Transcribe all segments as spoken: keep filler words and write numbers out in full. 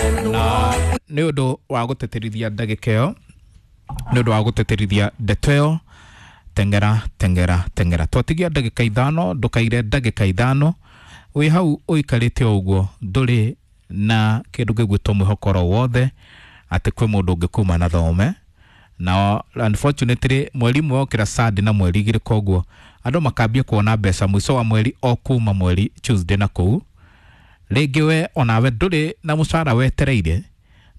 Na nĩ ũndũ wa gũtĩtĩrithia ndagĩka ĩyo, nĩ ũndũ wa gũtĩtĩrithia ndeto ĩyo, tengera tengera tengera. Twatigia ndagĩka ithano, ndũkaire ndagĩka ithano wĩ hau ũikarĩte o ũguo, ndũrĩ na kĩndũ gĩgwĩtwo mwĩhoko oro wothe atĩ kwĩ mũndũ ũngĩkuma na thome. Na unfortunately mweri ũmwe wokĩra Sunday na mweri igĩrĩ, koguo andũ makambia kuona mbeca mũico wa mweri o kuma mweri Tuesday na kũu. Rĩngĩ we onawe ndũrĩ na mũcara wetereire,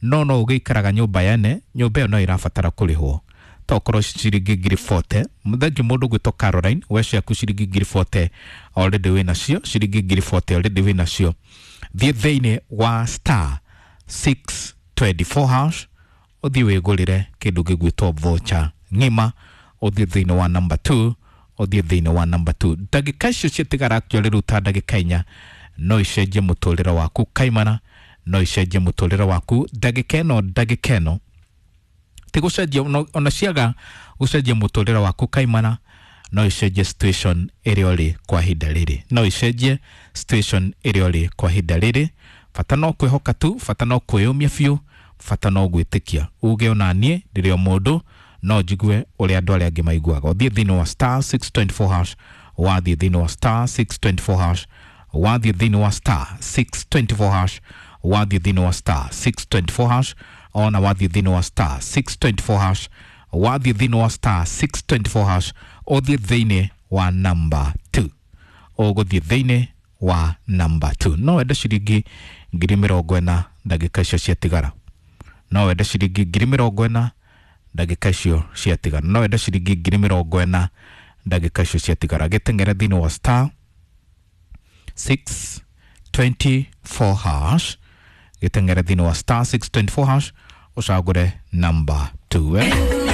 no no ũgĩikaraga nyũmba yene, nyũmba ĩyo no ĩrabatara kũrĩhwo tokorwo ciringi ngiri forty. Thengiũ mũndũ ũgwĩtwo Caroline, we ciaku ciringi ngiri forty already wĩ nacio, ciringi ngiri forty already wĩ nacio. Thiĩ thĩinĩ wa star six twenty four hash, ũthiĩ wĩgũrĩre kĩndũ gĩgwĩtwo voucher ng'ima, ũthiĩ thĩinĩ wa number two, ũthiĩ thĩinĩ wa number two. Ndagĩka icio ciatigara actually rĩu ta ndagĩka inya no icenjie mũtũrĩre waku kaimana, no icenjie mũtũrĩre waku ndagĩka ĩno, ndagĩka ĩno ti gũcenjia ono- ona ciaga gũcenjia mũtũrĩre waku kaimana, no icenjie situation ĩrĩa ũrĩ kwa ihinda rĩrĩ, no icenjie situation ĩrĩa ũrĩ kwa ihinda rĩrĩ. Bata no kwĩhoka tu, bata no kwĩyũmia biũ, bata no gwĩtĩkia uge ona niĩ ndĩrĩ o mũndũ, no njigue ũrĩa andũ arĩa angĩ maiguaga. Ũthiĩ thĩinĩ wa star six twenty four hash, wathiĩ thĩinĩ wa star six twenty four hash, wathiĩ thĩinĩ wa star six twenty four hash, wathiĩ thĩinĩ wa star six twenty four hash, ona wathiĩ thĩinĩ wa star six twenty four hash, wathiĩ thĩinĩ wa star six twenty four hash, ũthiĩ thĩinĩ wa number two, ũgũthiĩ thĩinĩ wa number two. No wende ciringi ngiri mĩrongo ĩna ndagĩka icio ciatigara, no wende ciringi ngiri mĩrongo ĩna ndagĩka icio ciatigara, no wende ciringi ngiri mĩrongo ĩna ndagĩka icio ciatigara. Gĩteng'ere thĩinĩ wa star six twenty four hash, gĩteng'ere thĩinĩ wa star six twenty four hash, ũcagũre number two, eh?